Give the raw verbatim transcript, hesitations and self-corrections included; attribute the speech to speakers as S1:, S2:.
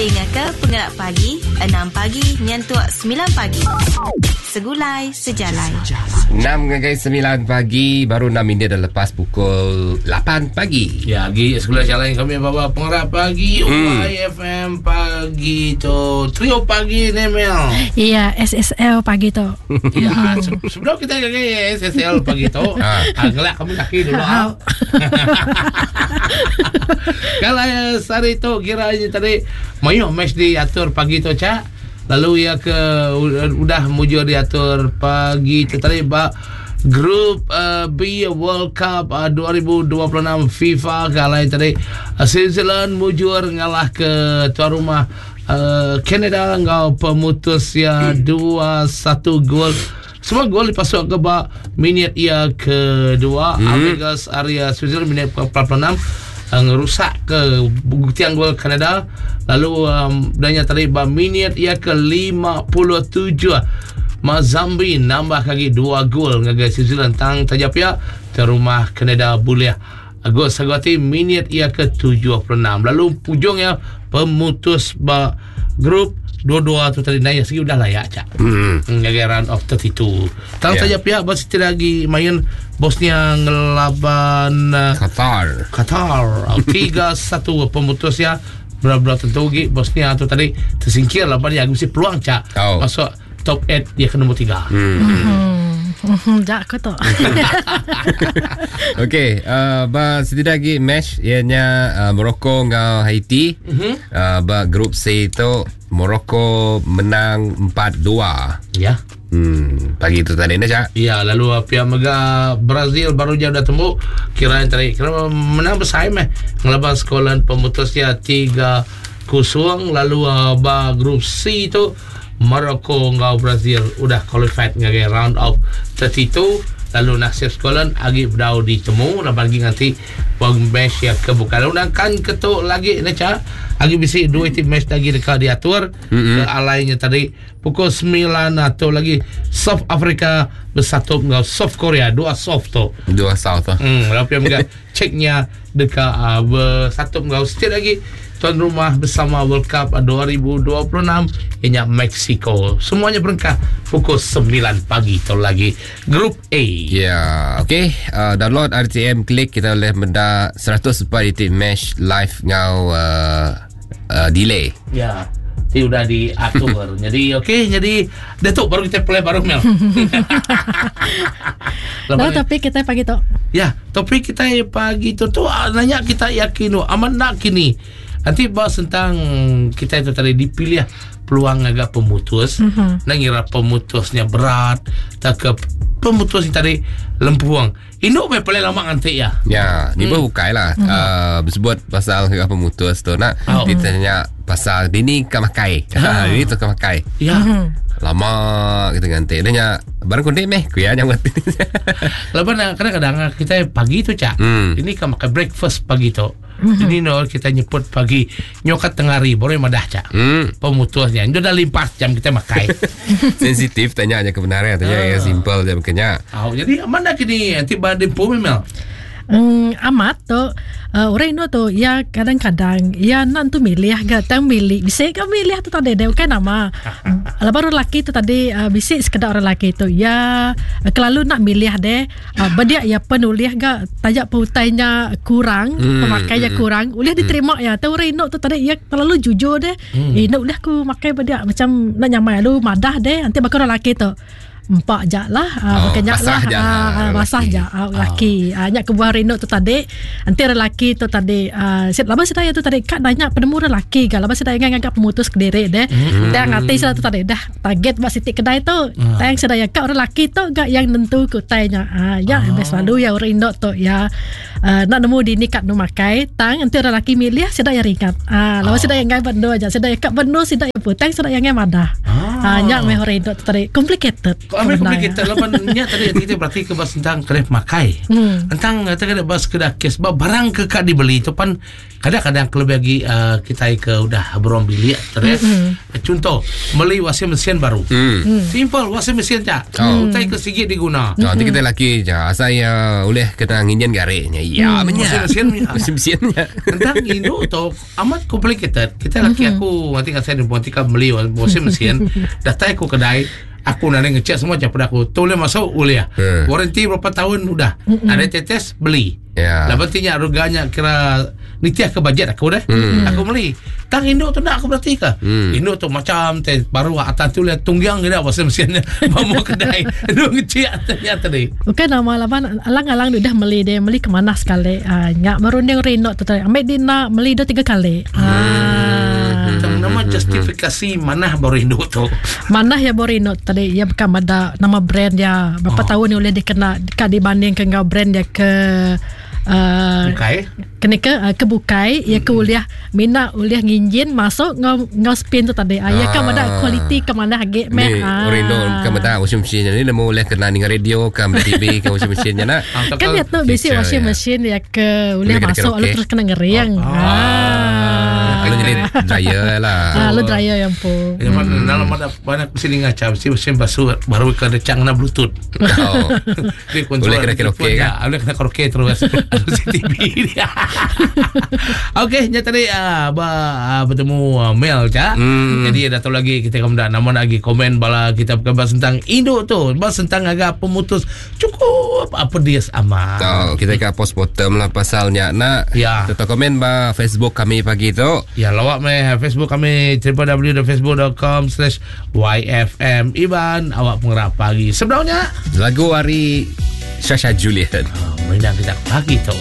S1: Dengar ke Pengerak Pagi enam pagi nyentuk sembilan pagi. Segulai sejalai.
S2: enam ngagai sembilan pagi, baru enam minit dah lepas pukul lapan pagi.
S3: Ya, lagi segulai jalan kami bawa Pengerak Pagi
S2: Hmm.
S3: Y F M pagi tu. Trio pagi ni, Mel.
S4: Iya, S S L pagi tu.
S3: Ya, se- sebelum kita ke S S L pagi tu,
S2: Ah.
S3: ah, ngelak kami kaki dulu. Ah. Kalau eh, sehari tu kiranya tadi mayuh match diatur pagi tu, cak. Lalu ya ke udah mujur diatur pagi tu tadi ba Grup uh, B World Cup uh, dua ribu dua puluh enam FIFA. Kalau tadi uh, Switzerland mujur ngalah ke tuan rumah uh, Canada ngau pemutus ya dua satu gol. Semua gol dipasuk ke ba minit ia kedua. Hmm. Amigas area Switzerland minit ke empat puluh enam uh, ngerusak ke tiang gol Kanada. Lalu um, dan tadi ba minit ia ke lima puluh tujuh Mazambi nambah lagi dua gol ngagai Switzerland, tang tajap ya ke rumah Kanada boleh gol sagati minit ia ke tujuh puluh enam. Lalu pujungnya pemutus ba grup dua-dua tu tadi naik segi udah layak, cak.
S2: Hmm.
S3: Ngagai round of thirty-two. Tang
S2: Ya.
S3: saja pihak bos tidak lagi main Bosnia ngelaban uh,
S2: Qatar.
S3: Qatar tiga satu pemutusnya. Berat-berat tentu gi Bosnia tu tadi tersingkir lah dia mesti peluang, cak,
S2: Oh.
S3: masuk top lapan dia ke nombor tiga.
S2: Hmm.
S4: Hmm, jak aku tu.
S2: Okey, uh, ba setidak lagi match ianya uh, Morocco dengan Haiti. Mm-hmm. Uh, ba grup C tu Morocco menang empat dua.
S3: Ya.
S2: Hmm, pagi tu tadi ni, cak.
S3: Ya, lalu uh, pihak mega Brazil baru je dah tembuk kira yang tadi kira menang bersaing eh ngelaban Scotland pemutusnya tiga kosong. Lalu uh, ba grup C tu Morocco ngau Brazil udah qualified ngagai round of thirty-two. Lalu nasib Scotland agi berdau ditemu laban lagi nanti bang match yang kebuka. Lalu kan ketuk lagi ni, cak, agi bisi dua tim match lagi dekat diatur mm-hmm. ke alainya tadi pukul sembilan atau lagi South Africa bersatu dengan South Korea, dua South tu.
S2: Dua South tu.
S3: Hmm, lalu pihak juga ceknya dekat uh, bersatu dengan setiap lagi tuan rumah bersama World Cup dua ribu dua puluh enam ianya Mexico. Semuanya berengkah pukul sembilan pagi tu lagi Grup A.
S2: Ya, okey. Uh, download R T M Klik, kita boleh menda seratus empat titik match live ngau uh, uh, delay.
S3: Ya. Jadi udah diatur. Jadi okey, jadi Datuk baru kita play baru, Mel.
S4: Lalu topik kita pagi tu.
S3: Ya, topik kita pagi tu tu ah, nanya kita yakin tu aman nak kini. Nanti bahas tentang kita itu tadi dipilih peluang agak pemutus. Mm-hmm. Nak ngira pemutusnya berat, tak ke pemutus ni tadi lempuang. Induk me paling lama nanti ya.
S2: Ya, ni pun bukai lah. Hmm. Uh, bersebut pasal harga pemutus tu nak
S3: Oh.
S2: kita tanya pasal bini ke makai. Ha, ini tu ke makai.
S3: Ya.
S2: Lama kita nganti. Dia nya barang kondek meh kuya yang buat.
S3: Lepas nak kadang-kadang kita pagi tu, cak.
S2: Hmm.
S3: Ini kan makan breakfast pagi tu. Ini no kita nyebut pagi nyokat tengah hari baru yang madah, cak.
S2: Hmm.
S3: Pemutusnya. Itu dah limpas jam kita makai.
S2: Sensitif tanya aja kebenaran, tanya yang simple je makanya.
S3: Oh, jadi mana kini nanti badai pun, Mel.
S4: Hmm, amat tu uh, orang Indo tu ya kadang-kadang ya nak tu milih agak tang milih bisa ke milih tu tadi dia bukan nama. Lepas orang lelaki tu tadi uh, bisa sekedar orang lelaki tu ya uh, kelalu nak milih deh uh, berdia ya penulis gak tajak peutainya kurang,
S2: Hmm,
S4: pemakainya
S2: hmm.
S4: kurang boleh diterima ya. Tu orang Indo tu tadi ya terlalu jujur deh hmm. Eh nak boleh aku makai berdia macam nak nyamai lu madah deh. Nanti bakal orang lelaki tu empak jak lah uh,
S2: Oh,
S4: bukan jak
S2: basah
S4: lah.
S2: jak
S4: Ah,
S2: lah,
S4: ah, basah
S2: lelaki.
S4: jak ah, lelaki ah, nyak kebuah Reno tu tadi nanti lelaki tu tadi ah, sit lama sedaya tu tadi kak nanya penemu lelaki kan lama sedaya ngangkat pemutus ke diri deh hmm. Dan ngati sedaya tu tadi dah target buat sitik kedai tu hmm. Tang sedaya kak orang lelaki tu gak yang nentu kutainya ah, ya oh. Selalu ya orang Indo tu ya uh, nak nemu di ni kat nu makai tang nanti orang lelaki milih sedaya ringat ah, lama
S3: Oh.
S4: sedaya ngai bendo aja sedaya kak bendo sedaya putang sedaya ngai madah
S3: Ah.
S4: ah, nyak meh orang Indo tu tadi complicated.
S3: Kami complicated laban nya tadi kita berarti ke bas tentang kedai makai.
S4: Hmm.
S3: Tentang kata kedai bas kedai kes sebab barang ke kak dibeli tu pan kadang-kadang kelebih lagi uh, kita ke udah beruang bilik terus. Mm-hmm. Contoh beli washing machine baru.
S2: Hmm.
S3: Simple washing machine cak.
S2: Oh.
S3: Utai ke sikit diguna.
S2: Nah, nanti kita laki je. Saya boleh kena nginjen gariknya. Ya,
S3: Washing
S2: mm.
S3: machine ya.
S2: Washing mesinnya.
S3: Tentang Indo tu amat complicated. Kita laki mm-hmm. aku nanti kan saya nanti kan beli washing machine. Datang aku kedai, aku nak ngecek semua macam pada aku. Tu boleh masuk boleh.
S2: Hmm.
S3: Warranty berapa tahun udah. Mm-hmm. Ada tetes beli.
S2: Ya.
S3: Lah pentingnya harganya kira nitiah ke bajet aku dah. Mm. Aku beli. Tang Indo tu nak aku berarti ke?
S2: Hmm.
S3: Indo tu macam teh baru atas tu lihat tunggang dia washing mesinnya mau kedai. Indo ngecek atasnya tadi.
S4: Bukan nama laban alang-alang dia dah beli dia beli ke mana sekali. Ah, nyak merunding rino tu tadi. Ambil dia nak beli dua tiga kali. Ah.
S3: Tang nama justifikasi mana baru Indo tu.
S4: Mana ya Borino tadi ya bukan ada nama brand dia berapa
S3: Oh.
S4: tahun ni boleh dikena dekat dibandingkan dengan brand dia ke uh,
S3: Bukai.
S4: kena ke uh, ke bukai ya ke uliah mina uliah nginjin masuk ngau ngau spin tu tadi ah, ya kan ada kualiti ke mana hagi
S2: Ni
S4: meh ah.
S2: Rino bukan betul washing machine ni nemu boleh kena dengan radio ke D T V ke washing machine nya nak.
S3: Ah,
S4: kan dia tu basic
S2: Feature,
S4: washing
S2: ya.
S4: machine ya ke uliah
S2: Boleh kena
S4: masuk lalu
S2: karaoke.
S4: terus kena ngeriang
S3: Oh.
S4: ah.
S2: Kalau jadi dryer lah.
S4: Ah, lu dryer yang pun.
S3: Ya, mana dalam ada banyak mesin ngaca, mesin mesin basuh baru ke ada cang na bluetooth.
S2: Oh.
S3: Dia kontrol
S2: Boleh kena karaoke
S3: telefon,
S2: kan?
S3: ya, boleh kena karaoke terus. Ada C T V dia. Okey, nya tadi ah, ba, ah, bertemu ah, Mel ja.
S2: Hmm.
S3: Jadi ada tahu lagi kita kamu dah nama lagi komen bala kita bukan bahas tentang Indo tu, bahas tentang agak pemutus cukup apa dia amat.
S2: Tahu kita ke postmortem lah pasalnya nak.
S3: Ya.
S2: Tetap komen ba Facebook kami pagi tu.
S3: Ya, lawak meh Facebook kami www.facebook.com slash YFM Iban awak penggerak pagi. Sebenarnya
S2: Lagu hari Shasha Julian.
S3: Merindang kita pagi tu.